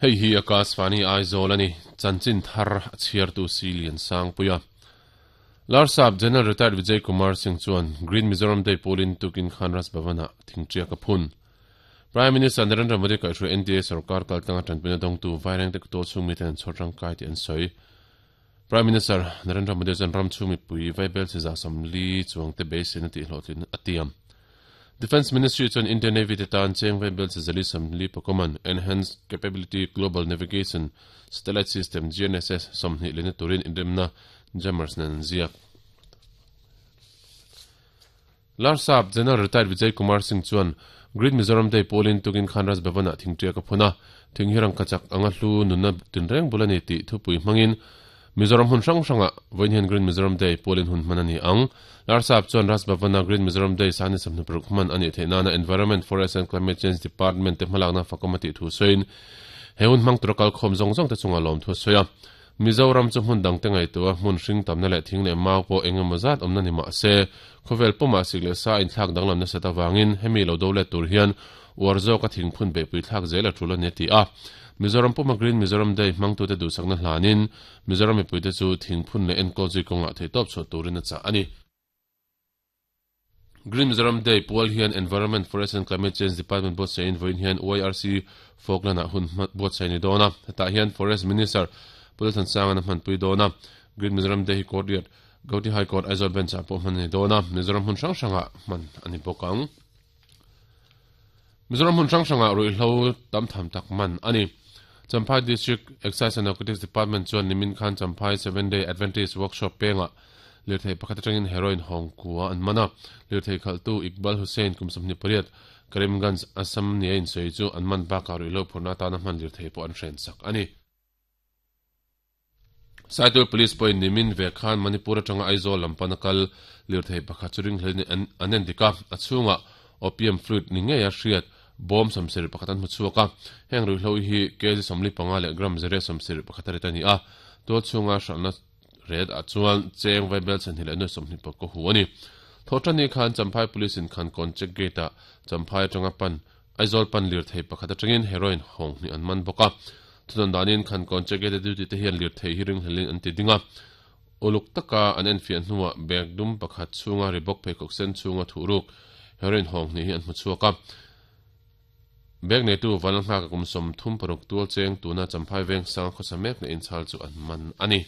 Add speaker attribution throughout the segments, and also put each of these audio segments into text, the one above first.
Speaker 1: Hei hi Akashvani Aizawl a ni, chanchin thar a chhiartu si Liansangpuia. Larsap General Retired Vijay Kumar Singh chuan Green Mizoram Day pawlin tukin khan Raj Bhavan-ah thingṭiak a phun. Prime Minister Narendra Modi kaihhruai NDA sorkar kaltlanga ṭanpuina dawngtu Vairengte Kutual chhung miten an chhawr tangkai tih an sawi. Prime Minister Narendra Modi chuan ram chhung mipui vaibel chi 40 chuangte beiseina tihhlawhtlin a tiam. Defence Ministry chuan Indian Navy te tan cheng vaibel chi 440 man Enhanced Capability Global Navigation Satellite System, GNSS, 20 lehna turin inremna jammers nen an ziak. Larsap General Retired Vijay Kumar Singh chuan Green Mizoram Day pawlin tukin khan Raj Bhavan-ah thingṭiak a phun a, thing hi rangkachak anga hlu nunna tinreng bul a ni tih thupui hmangin Mizoram hmun hrang hrangah vawiin hian Green Mizoram Day pawlin hun hman a ni ang. Larsap chuan Raj Bhavan-a Green Mizoram Day sani 26 hman a nih theih nana Environment, Forest and Climate Change Department te hmalakna fakawm a tih thu sawiin he hun hmang tura kalkhawm zawng zawng te chungah lawmthu a sawi a. Mizoram chu hmun dangte ngaihtuah a, hmun hring tamna leh thing leh mau pawh eng emaw zat awmna ni mah se, khawvel pumah sik leh sa a inthlak danglam nasat avangin hemi lo do let tur hian uar zawka thingphun beihpui thlak zel a tul a ni a ti a. Mizoram puma Green Mizoram Day hmangtute duhsakna hlanin Mizoram mipuite chu thingphun leh enkawl zui kawngah theihtawp chhuah turin a chah a ni. Green Mizoram Day pual hian Environment, Forest and Climate Change Department buatsaih-in vawiin hian YRC Falkland-ah hun buatsaih a ni dawn a. Hetah hian Forest Minister Pu Lalthansanga a hmanpui dawn a. Green Mizoram Day hi Court riat Gauhati High Court Aizawl Bench-ah pawh hman a ni dawn a, Mizoram hmun hrang hrangah hman a ni bawk ang. Mizoram hmun hrang hrangah ruihhlo tam tham tak man a ni. Champhai District Excise and Narcotics Department chuan nimin khan Champhai Seven Day Adventist Workshop pengah lirthei pakhat atangin heroin hawng kua an man a. Lirthei khalhtu Iqbal Hussain kum 28, Karimganj, Assam nia insawi chu an man bakah ruihhlo phurhna atana hman lirthei pawh an hrensak a ni. Saitul Police pawhin nimin ve khan Manipur atanga Aizawl lam pana kal lirthei pakhat chu ringhlelin an en dik a, a chhungah opium fluid ni ngeia hriat bawm 71 an hmu chhuak a. Heng ruihhlo hi kg 45 leh gram 171 a rit a ni a, tual chhunga hralhna ret ah chuan cheng vaibel chhan hi leh nuai 20 pawh ka hu a ni. Thawhṭanni khan Champhai Police in Khankawn check gate ah Champhai atanga pan Aizawl pan lirthei pakhat atangin heroin hawng hnih an man bawk a. Thudawn danin Khankawn check gate a duty te hian lirthei hi ringhlelin an ti ding a. Uluk taka an enfiah hnuah bag dum pakhat chhunga Reebok pheikhawk sen chhunga thuhruk heroin hawng hnih hi an hmu chhuak a. Bag neitu Vanlalnghaka kum 36 tual cheng tuna Champhai Vengsanga khawsa mek na inchhal chu an man a ni.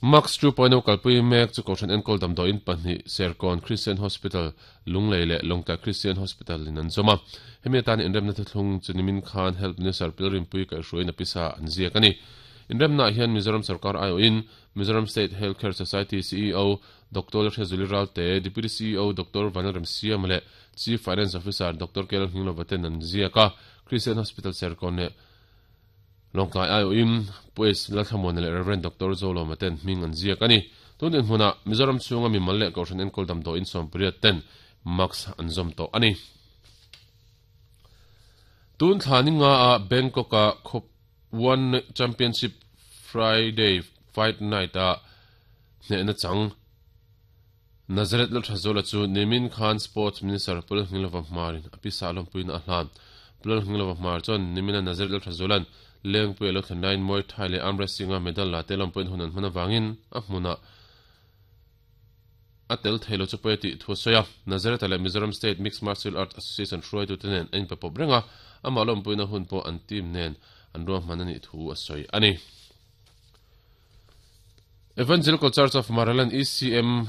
Speaker 1: Max 2.0 kalpui mek chu Kohhran enkawl damdawiin pahnih Serkawn Christian Hospital, Lunglei leh Lawngtlai Christian Hospital in an zawm a. Hemi atan inremna thuthlung chu nimin khan Health Minister Pilrinpui kaihhruaiin a pisa an ziak a ni. Inremnaah hian Mizoram sorkar aiawhin Mizoram State Health Care Society CEO Doctor Lalhriazuli Ralte, Deputy CEO Doctor Vanlalremsiama leh Chief Finance Officer Doctor Kel Nghinglova ten an ziak a, Christian Hospital Serkawn leh Lawngtlai aiawhin Pu S. Lalthlamuana leh Rev. Doctor Zolawma ten hming an ziak a ni. Tun dinhmunah Mizoram chhunga mimal leh Kohhran enkawl damdawiin 18 ten mask an zawm tawh a ni. Tun thla ni nga a Bangkok-a khawp One Championship Friday Fight Night-a hnehna chang Nazareth Lalthazuala chu nimin khan Sports Minister Pu Lalngilova Hmarin a pisa lawmpuina a hlan. Pu Lalngilova Hmar chuan nimina Nazareth Lalthazuala'n Lengpui a lo thlen laiin Muay Thai leh Arm Wrestling-a medal la te lawmpuiin hun an hman avangin a hmunah a tel thei lo chu pawi a tih thu a sawi a. Nazareth-a leh Mizoram State Mixed Martial Arts Association hruaitute nen an inpe pawp reng a, amah lawmpuina hun pawh an team nen an ruahman a nih thu a sawi a ni. Evangelical Church of Maraland, ECM,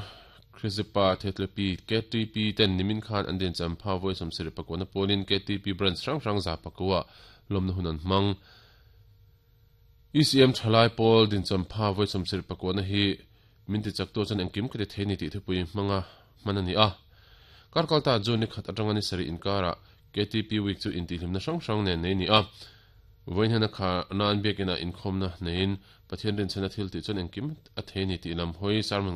Speaker 1: Khrizipa Thetlepi, KTP, ten nimin khan an din champha vawi 74 na pawnin KTP branch hrang hrang 109 lawmna hun an hmang. ECM thalai pawl din champha vawi 79 na hi min ti chak tu chuan engkim ka ti thei ni tih thupui hmanga hman a ni a. Karkalta June ni khat atanga ni sarih inkarah KTP Week chu intihhlimna hrang hrang nen nei ni a. Vawiin hian a kha nan biakinah inkhawmna neiin Pathian rinchhana thil tih chuan engkim a thei ni tih lam hawi sermon.